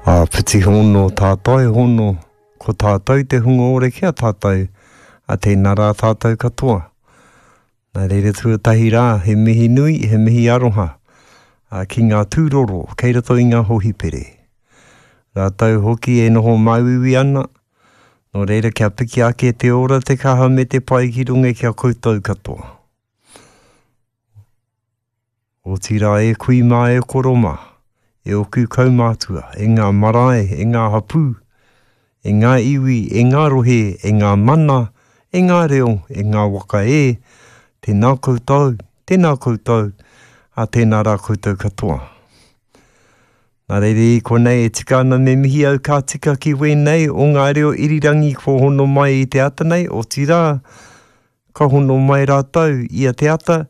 Āpiti hono, tātai hono, ko tātou te hunga ora ki a tātou, a tēnā rā tātou katoa. Nā reira tuatahi rā, he mihi nui, he mihi aroha a, ki ngā tūroro kei roto i ngā hōhipere. Rātou hoki e noho māuiui ana, nō reira kia piki ake te ora, te kaha me te pai ki runga ki a koutou katoa. Otirā e kui mā e koro mā, e oku kaumātua, e ngā marae, e ngā hapū, e ngā iwi, e ngā rohe, e ngā mana, e ngā reo, e ngā waka e, tēnā koutou, tēnā koutou, ā tēnā rā koutou katoa. Nā reira i konei e tika ana me mihi au ka tika ki wēnei o ngā reo irirangi kua hono mai i te ata nei, otirā, Ka hono mai rātou ia te ata,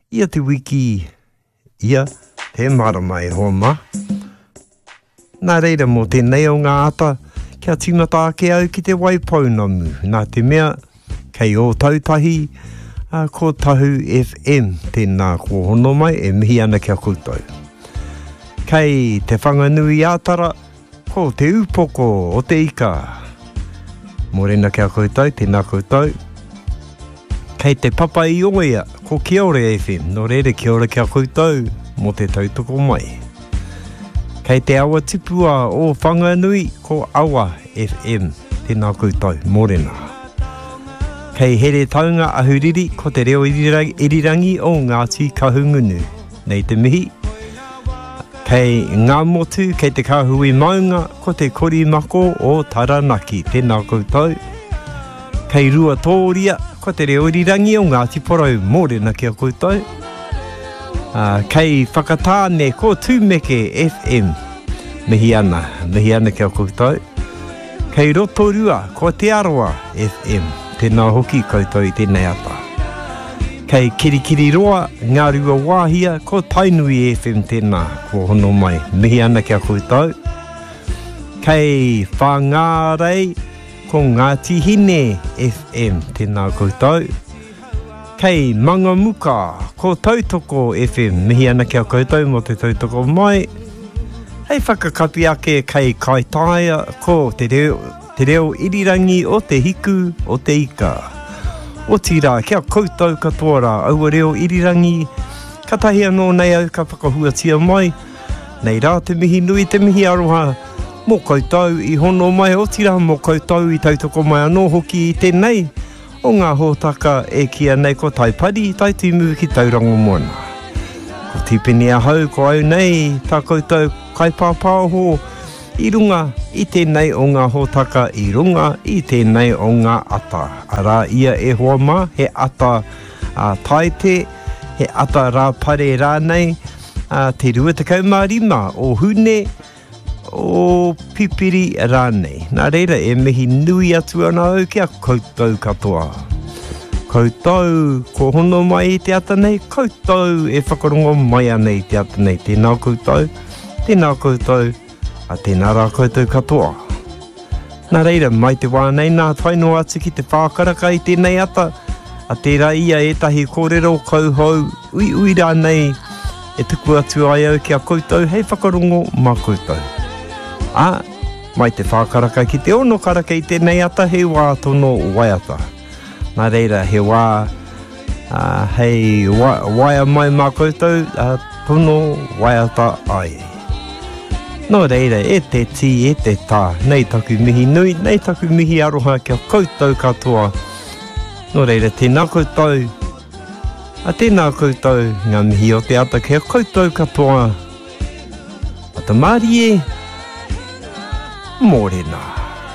ia te wiki, ia te marama e hoa mā. Nā reira mō tēnei o ngā ata, kia tīmata ake au ki te Waipounamu, nā te mea, kei Ōtautahi, ā, ko Tahu FM tēnā kua hono mai e mihi ana ki a koutou. Kei Te Whanganui-ā-Tara, Ko Te Upoko o te Ika. Mōrena ki a koutou, tēnā koutou. Kei te papa i oia, ko Kiore FM, nō reira kia ora ki a koutou mō te tautoko mai. Kei te awa tipua o Whanganui, ko Awa FM, tēnā koutou, mōrena. Kei Heretaunga Ahuriri, ko te reo irirangi o Ngāti Kahungunu. Nei te mihi. Kei Ngāmotu, kei te kāhui maunga, ko te korimako o Taranaki. Tēnā koutou. Kei Ruatōria, ko te reo irirangi o Ngāti Porou. Mōrena ki a koutou. Kei Whakatāne, ko Tūmeke FM. Mihi ana, mihi ana ki a koutou. Kei Rotorua, ko Te Arawa FM. Tēnā hoki koutou i tēnei ata. Kei Kirikiriroa, Ngāruawāhia, ko Tainui FM tēnā, kua hono mai. Mihi ana ki a koutou. Kei Whāngārei, ko Ngāti Hine FM, tēnā koutou. Kei Mangamuka, ko Tautoko FM, mihi ana ki a koutou mō te tautoko mai. Hei whakakapi ake kei Kaitaia, ko te reo, te reo irirangi o te hiku o te ika. Otirā, ki a koutou katoa rā, aua reo irirangi, katahi anō nei au ka whakahuatia mai, nei rā te mihi nui, te mihi aroha, mō koutou i hono mai, otirā mō koutou i tautoko mai anō hoki i tēnei, O ngā hōtaka e kīia nei ko Taipari, Taitimu ki Tauranga Moana. Ko Tipene ahau, ko au nei tā koutou kaipāpāho i runga i tēnei o ngā hōtaka i runga i tēnei o ngā ata. Arā ia e hoa mā, he ata a Taite, he ata Rāpare rānei, a te 25 o Hune, o Pipiri rānei. Nā reira, e mihi nui atu ana au ki a koutou katoa. Koutou ko hono mai i te ata nei, koutou e whakarongo mai ana i te ata nei. Tēnā koutou, tēnā koutou, a tēnā rā koutou katoa. Nā reira, mai te wā nei nā tae noa atu ki te whākaraka i tēnei ata, a tērā ia ētahi kōrero kauhou, uiui rānei e tuku atu ai au ki a koutou hei whakarongo mā koutou. Ā, mai te whākaraka ki te ono karaka i tēnei ata he wā tono waiata. Nā reira, he wā ā, hei wa, waea mai mā koutou, ā, tono waiata ai. Nō reira, e te tī, e te tā, nei taku mihi nui, nei taku mihi aroha ki a koutou katoa. Nō reira, tēnā koutou, a tēnā koutou, ngā mihi o te ata ki a koutou katoa. Ata mārie, mōrena.